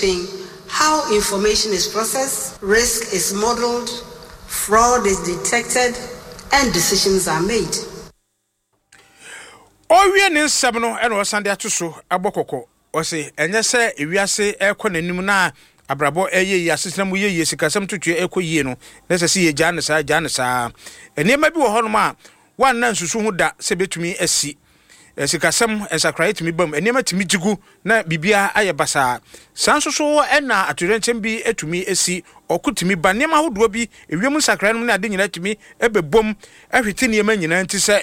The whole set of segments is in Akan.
How information is processed, risk is modeled, fraud is detected, and decisions are made. Ɔrewie ne nsɛm no na ɔsan de ato so abɔ kɔkɔ. Ɔse ɛnyɛ sɛ ewiase rekɔ n'anim na abrabɔ reyɛ yie, asetena mu yɛ yie, sikasɛm ntotoeɛ rekɔ yie no, na ɛsɛ sɛ yɛgyaa no saa, gyaa no saa. Nneɛma bi wɔ hɔnom a woanna nsusu ho da sɛ ɛbɛtumi asi. Sikasɛm nsakraeɛ tumi ba mu, nneɛma tumi gye gu na biribiara ayɛ basaa. Saa nso so na atoyerɛnkyɛm bi tumi si, ɔko tumi ba, nneɛma ahodoɔ bi, ewiem nsakraeɛ nom ne ade nyinaa tumi bɛbom hwete nneɛma nyinaa. Nti sɛ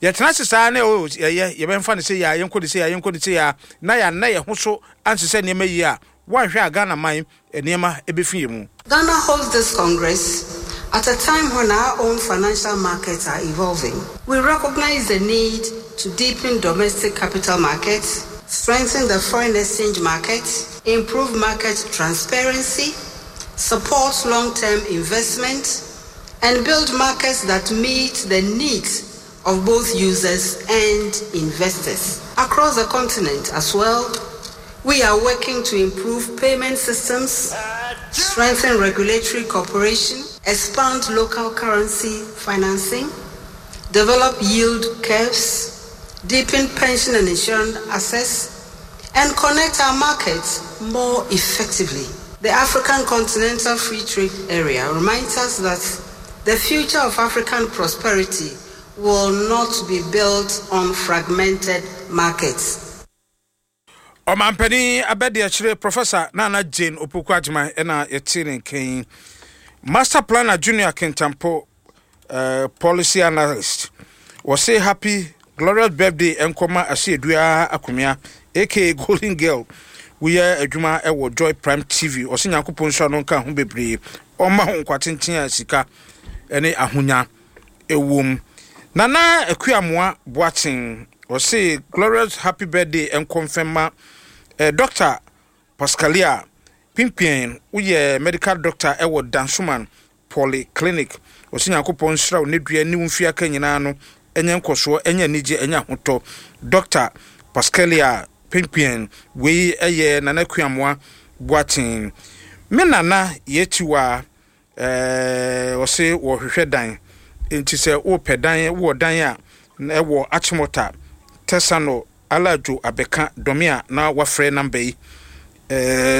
yɛtena ase saa na oh, yɛyɛ, yɛbɛmfa no sei a, yɛnkɔ no sei a, yɛnkɔ no sei a, na yɛanna yɛn ho so ansesɛ nneɛma yie a, woanhwɛ a Ghana man nneɛma bɛfi yɛn mu. Ghana holds this Congress at a time when our own financial markets are evolving. We recognize the need to deepen domestic capital markets, strengthen the foreign exchange market, improve market transparency, support long-term investment, and build markets that meet the needs of both users and investors. Across the continent as well, we are working to improve payment systems, strengthen regulatory cooperation, expand local currency financing, develop yield curves, deepen pension and insurance access, and connect our markets more effectively. The African Continental Free Trade Area reminds us that the future of African prosperity will not be built on fragmented markets. Ɔmanpanin abadiakyire Professor Nana Jane Opoku Agyemang na yɛtee ne nka yi. Master Planner Junior Kintampo, uh, Policy Analyst, wɔse happy glorious birthday nkɔma Asiedua Akomea aka Golden Girl. Woyɛ adwuma wɔ Joy Prime TV. Ɔse Nyankopɔn nhyira no nka ho bebree. Ɔmma ho nkwa tenten a sika ne ahonya ɛwom. Nana Akuamoah Boateng, ɔse glorious happy birthday nkɔ mfɛmma eh, Doctor Pascalia Pimpien, woyɛ medical doctor ɛwɔ Dansoman Polyclinic. Ɔse Nyankopɔn nhyira wo ne dua ne wo mfie aka nyinaa no ɛnyɛ nkɔsoɔ, ɛnyɛ anigye, ɛnyɛ ahotɔ. Doctor Pascalia Pimpien, wei ɛyɛ Nana Akuamoah Boateng. Me nana Yetiwa Ɛɛ ɔse wɔhwehwɛ dan nti sɛ wopɛ dan wowɔ dan a ɛwɔ Achimota, Tesano, Alajo Abeka, Dɔme a na wafrɛ number yi ɛɛ.